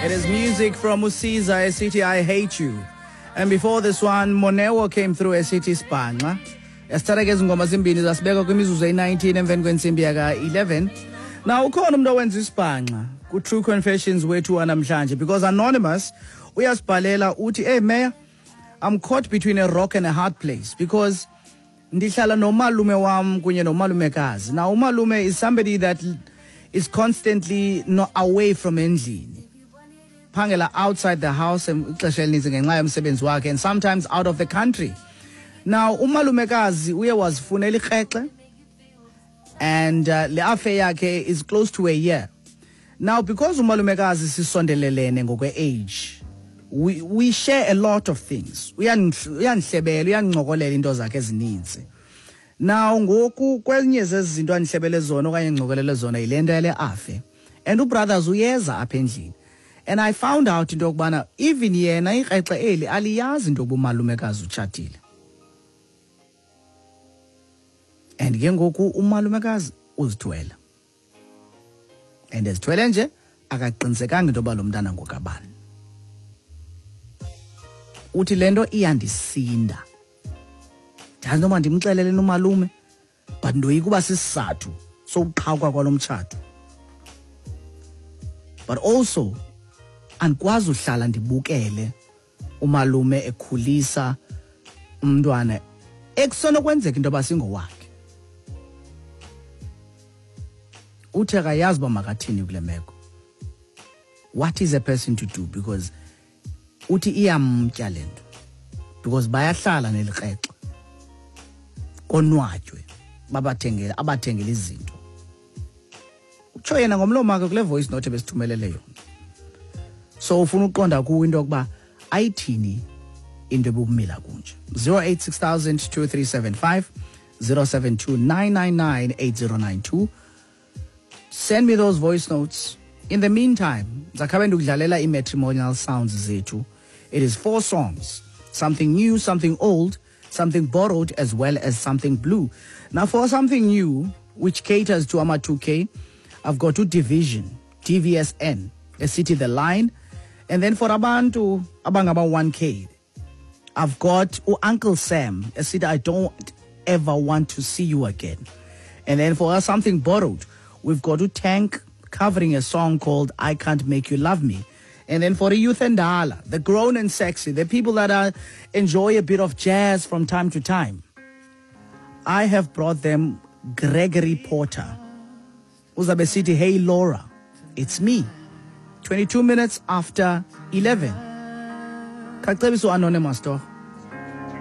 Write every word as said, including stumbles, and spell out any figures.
It is music from uSiza esithi "I Hate You." And before this one, Monewo came through esithi "Sibhanxa." Yasithatha ke ezi ngoma zimbini zasibeka kwimizuzu eyi-nineteen emveni kwentsimbi yaka-eleven. Now ukhona umuntu owenza isibhanxa ku-True Confessions wethu wanamhlanje, because Anonymous uyasibhalela uthi, "Hey Mayor, I'm caught between a rock and a hard place because ndihlala nomalume wam kunye nomalumekazi. Now umalume is somebody that is constantly not away from endlini, phangela outside the house ixesha elininzi ngenxa yomsebenzi wakhe, and sometimes out of the country. Now umalumekazi uye wazifunela ikrexe, and uh, le affair yakhe is close to a year now. Because umalumekazi sisondelelene ngokwe-age, we, we share a lot of things. Uyandihlebela, uyandincokela into zakhe ezininzi. Now ngoku kwenye zezi zinto andihlebele zona okanye ndincokolele zona yile nto yale affair, and ubrothers uyeza apha endlini, and I found out into yokubana even yena ikrexe eli aliyazi into yokuba umalumekazi utshatile, and ke ngoku umalumekazi uzithwele, and ezithwele nje akaqinisekanga into yoba lo mntana ngokabani. Uthi le nto iyandisinda, ndazi noma ndimxelele nomalume, but ndoyika uba sisizathu sokuqhawuka kwalo mtshato, but also andikwazi uhlala ndibukele umalume ekhulisa umntwana ekusenokwenzeka into yoba singowakhe. Uthi akayazi uba makathini kule meko. What is a person to do? Because uthi iyamtya le nto, because bayahlala nelikrexe konwatywe, babathengele, abathengele izinto." Utsho yena ngomlomo wakhe kule voice note ebesithumelele yona. So ufuna uqonda kuwo into yokuba ayithini into ebumila kunje. zero eight six two three seven five, zero seven two nine nine nine eight zero nine two. Send me those voice notes. In the meantime, ndizakhabe ndikudlalela ii-matrimonial sounds zethu. It is four songs: something new, something old, something borrowed, as well as something blue. Now for something new, which caters to ama two K, I've got two Division, D V S N, esithi "The Line." And then for abantu abangaba one K, I've got Uncle Sam esithi "I Don't Ever Want to See You Again." And then for us, something borrowed, we've got Tank covering a song called "I Can't Make You Love Me." And then for the youth and dala, the grown and sexy, the people that are, enjoy a bit of jazz from time to time, I have brought them Gregory Porter. Uzabe sithi "Hey Laura, It's Me." twenty-two minutes after eleven. Kacebiso Anonymous to.